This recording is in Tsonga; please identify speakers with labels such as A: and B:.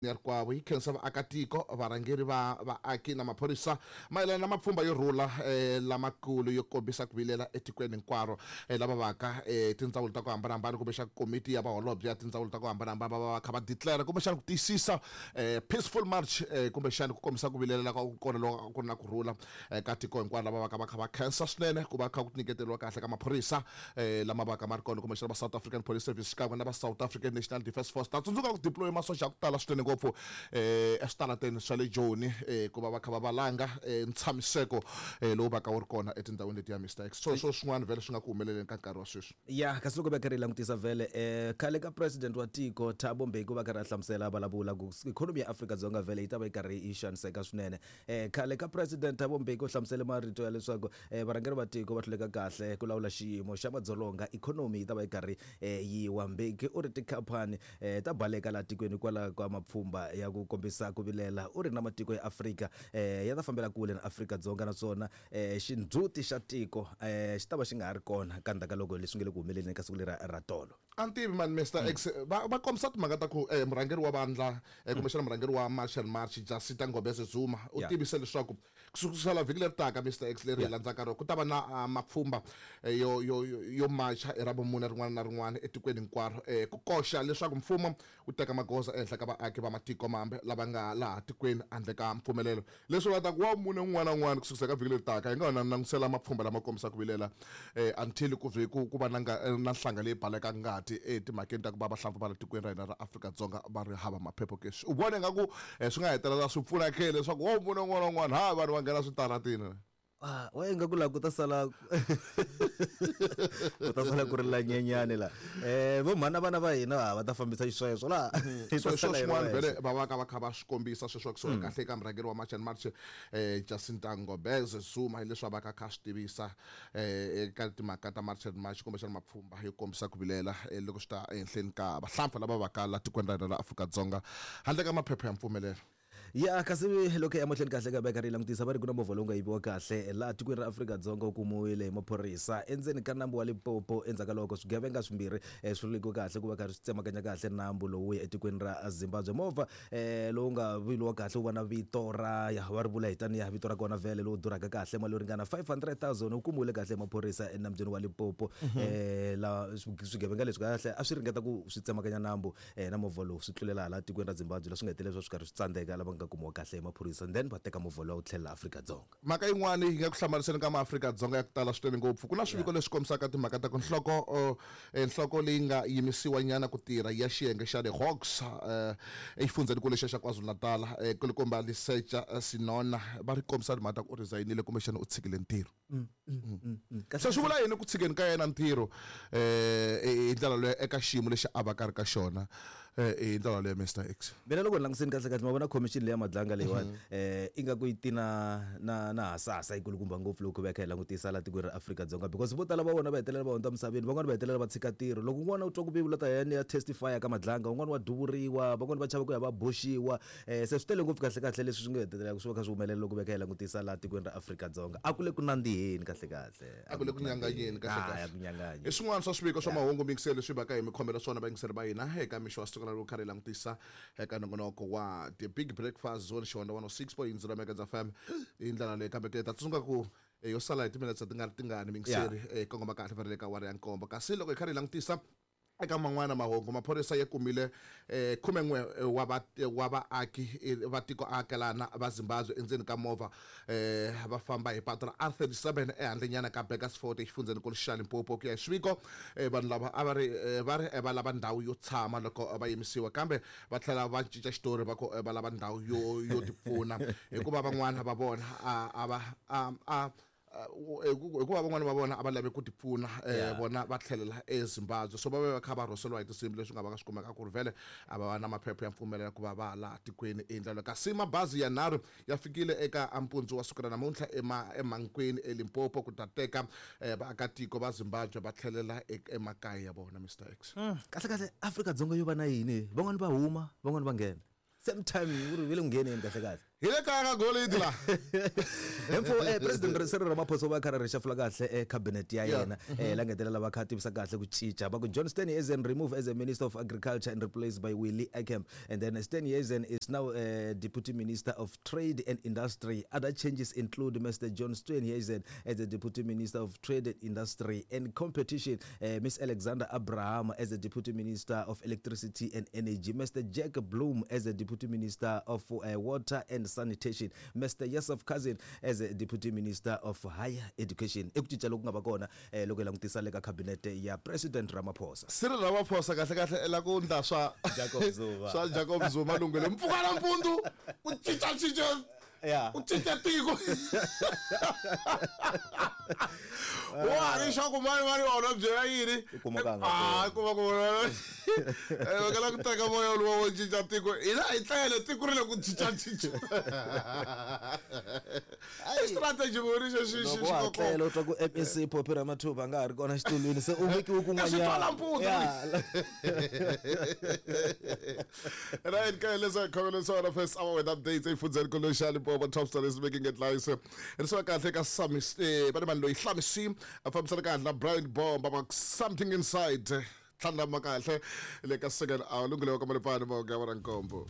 A: Ya rikwavo yi khensa vaakatiko, varhangeri va vaaki na maphorisa mayelana na mapfhumba yo rhula lamakulu yo kombisa ku vilela etikweni hinkwaro lava vaka tindzawulo ta ku hambanahambana kumbexana komiti ya vaholobye ya tindzawulo ta ku hambanahambana va va va kha va declare kumbexana ku tiyisisa peaceful march kumbexana ku kombisa ku vilela loko ku kona loko ku ri na ku rhula ka tiko hinkwaro lava vaka va kha va khensa swinene ku va kha ku nyiketeriwa kahle ka maphorisa lama vaka ma ri kona kumbexana va South African Police Service xikan'we na va South African National Defence Force. Ta tsundzuka ku deploy masocha ya ku tala swinene ngopfu eswitarateni swa le Joni ku va va kha va valanga ntshamiseko lowu vaka wu ri kona etindhawini letiya Mister X. So swo swin'wana vhele swi nga ku humeleleni ka nkarhi wa sweswi.
B: Ya kasi loko va karhi hi langutisa vhele khale ka president wa tiko Thabo Mbeki u va karhi a hlamusela a vulavula ku ikhonomi ya Afrika-Dzonga vhele yi ta va yi karhi yi xaniseka swinene. Khale ka President Thabo Mbeki u hlamusele marito ya leswaku varhangeri va tiko va hluleka kahle ku lawula xiyimo xa madzolonga, ikhonomi yi ta va yi karhi yi wa. Mbeki u ri tikhaphani ta baleka laha tikweni hikwalaho ka mapfhumba ya ku kombisa ku vilela. U ri na matiko ya Afrika ya ta fambela kule na Afrika-Dzonga naswona xindzhuti xa tiko xi ta va xi nga ha ri kona ka ndzhaku ka loko leswi nga le ku humeleleni ka siku leriya ra tolo.
A: A ni tivi mani Mister X va va kombisa timhaka ta ku murhangeri wa vandla kumbexana murhangeri wa March and March Jacinta Ngobese Zuma u tivise leswaku ku sukela vhiki leri taka Mister X leri hi landzaka rona ku ta va na mapfhumba yo yo yo macha hi Ravumune rin'wana na rin'wana etikweni hinkwaro ku koxa leswaku mfumo wu teka magoza ehenhla ka vaaki va matiko mambe lava nga laha tikweni handle ka mpfumelelo. Leswi va ta ku Wavumune un'wana na un'wana ku sukisa ka vhiki leri taka hi nga ha langutisela mapfhumba lama kombisaka ku vilela until ku vhe ku ku va na na nhlanga leyi balekaka ngati etimhakeni ta ku va vahlampfa va la tikweni ra hina ra Afrika-Dzonga va ri hava maphepho ke. U vona ingaku swi nga hetelela swi pfuna ke leswaku Wavumune un'wana na un'wana ha vanhu va nghena switaratini?
B: Ah, wa ingaku la ku ta sala ku ta sala ku ri la nyenyani la vo mhana vana va hina va ta fambisa xisweswo la
A: Hi ta So sala hi ri swin'wana vhele wexe. Va va ka va kha va swi kombisa sweswo kusuka kahle eka murhangeri wa March and March Jacinta Ngobese Zuma hi leswi a va ka kha swi tivisa eka timhaka ta March and March kumbexana mapfhumba yo kombisa ku vilela loko swi ta ehenhleni ka vahlampfa lava va ka la tikweni ra hina ra Afrika-Dzonga handle ka maphepha ya mpfumelelo.
B: Ya kasi loko hi ya mahlweni kahle ka veka ri langutisa va ri ku na movha lowu nga yiviwa kahle laha tikweni ra Afrika-Dzonga wu kumiwile hi maphorisa endzeni ka nambu wa Limpopo endzhaku ka loko swigevenga swimbirhi swi hlulekiwe kahle ku va karhi swi tsemakanya kahle nambu lowu wu ya etikweni ra Zimbabwe. Movha lowu nga vuyeliwa kahle wu va na vito ra ya va ri vula hi taniya vito ra kona vhele lowu durhaka kahle mali yo ringana 500,000 wu kumiwile kahle hi maphorisa enambyeni wa Limpopo laha swigevenga leswi kahle a swi ringeta ku swi tsemakanya nambu na movha lowu swi tlulela hala tikweni ra Zimbabwe la swi nga hetelela swi karhi swi tsandzeka lava nga kumiwa kahle hi maphorisa then va teka movha luwa wu tlhelela Afrika-Dzonga.
A: Mhaka yin'wana yi nga ku hlamariseni ka maAfrika-Dzonga ya ku tala swinene ngopfu, ku na swiviko leswi kombisaka timhaka ta ku nhloko nhloko leyi nga yimisiwa nyana ku tirha ya xiyenge xa le Hawks exifundzhenikulu lexiya xa KwaZulu-Natal kulukumba Lesetja Senona va ri kombisa timhaka ta ku u resign-ile kumbexana u tshikile ntirho. Se swi vula yini ku tshikeni ka yena ntirho hi ndlela leyo eka xiyimo lexi a va ka ri ka xona hi ndlela leyo Mister X?
B: Mina loko ni langusini kahle kahle ma vona commission leya Madlanga leyiwani ingaku yi tina na na hasahasa yi kulukumba ngopfu loko va kha hi langutisa la tikweni ra Afrika-Dzonga because vo tala va vona va hetelela va hundza misaveni van'wani va hetelela va tshika ntirho loko un'wana u twa ku vula ta yena ya testify ka Madlanga un'wana wa duvuriwa van'wani va chava ku ya va boxiwa Se swi tele ngopfu kahle-kahle leswi swi nga hetelelaka swi va kha swi humelela loko veka hi langutisa laha tikweni ra Afrika-Dzonga. A ku le ku nandziheni kahle-kahle.
A: A ku le ku nyanganyeni kahle-kahle.
B: A ku nyanganyi.
A: I swin'wana swa swiviko swa mahungu miyingiseri leswi hi vaka hi mi khomela swona vayingiseri va hina eka mixo wa siku na loko karhi hi langutisa eka nongonoko wa The Big Breakfast Zone Xihonda 106.0 Megahertz FM hi ndlela leyi kambe ke ta tsundzuka ku yo sala hi timinetse ti nga ri tingani miyingiseri kongoma kahle va ri le ka awara ya nkombo kasi loko hi karhi hi langutisa Eka man'wana mahungu, maphorisa ya kumile khumen'we wa va wa vaaki va tiko-akelana va Zimbabwe endzeni ka movha va famba hi patu ra R37 ehandlenyana ka Burgersfort exifundzhenikulu xa Limpopo. Ku ya hi swiviko, vanhu lava a va ri va ri va lava ndhawu yo tshama loko va yimisiwa kambe va tlhela va cinca xitori va ku va lava ndhawu yo yo tipfuna hikuva van'wana va vona a a va a a Hikuva van'wana va vona a va lave ku tipfuna vona va tlhelela eZimbabwe so va ve va kha va rhoseliwa hi tinsimbi leswi nga va ka swi kumeka ku ri vhele a va va na maphepha ya mpfumelelo ku va va laha tikweni hi ndlela kasi mabazi yanharhu ya fikile eka mpundzu wa siku ra namuntlha eMankweng eLimpopo ku ta teka vaakatiko va Zimbabwe va tlhelela emakaya ya vona Mister X.
B: Kahle kahle Afrika-Dzonga yo va na yini van'wani va huma van'wani va nghena same time ku ri ve le ku ngheneni kahle kahle.
A: Hi le kaya ka golidi la.
B: Hemfo president Cyril Ramaphosa u va kha ri reshafula kahle cabinet ya yena la ngetelela va kha tivisa kahle ku cinca va ku John Steenhuisen removed as a minister of agriculture and replaced by Willie Aucamp, and then Steenhuisen is now deputy minister of trade and industry. Other changes include Mr John Steenhuisen as the deputy minister of trade and industry and competition, Miss Alexander Abraham as the deputy minister of electricity and energy, Mr Jack Bloom as the deputy minister of water and sanitation, Mr Yusuf Cousin as a deputy minister of higher education. I ku cinca loku nga va kona loko hi langutisa le ka cabinet ya president Ramaphosa.
A: Cyril Ramaphosa kahle kahle i la ku ndla swa
B: Jacob Zuma.
A: Swa Jacob Zuma lunghelo mpfuka nampundzu ku cinca cinca ku cinca tiko wa ha ri xa ku mani mani wona byela yini.
B: U kuma ka nga
A: Ah, kuma ku va kala ku teka moya luwa wo cinca tiko hina hi tlele tiko ri le ku cinca cinca i strategy ku ri xo xi xi
B: Loko wa ha tlela u twa ku MEC Phophi Ramathuba a nga ha ri kona xitulwini se u vekiwe
A: Swi twala
B: kun'wanyana.
A: mpundzu. Right, guys, let's come on so first hour with updates efundzeni kolosha Limpopo top stories making headlines. Ri swa kahle ka Sami va ni vanhu loyi Hlamisi a fambisana kahle na Brian Bomba va something inside. Tlhandlama kahle le ka second hour lunghelo ka Malipani mo ga ra nkombo.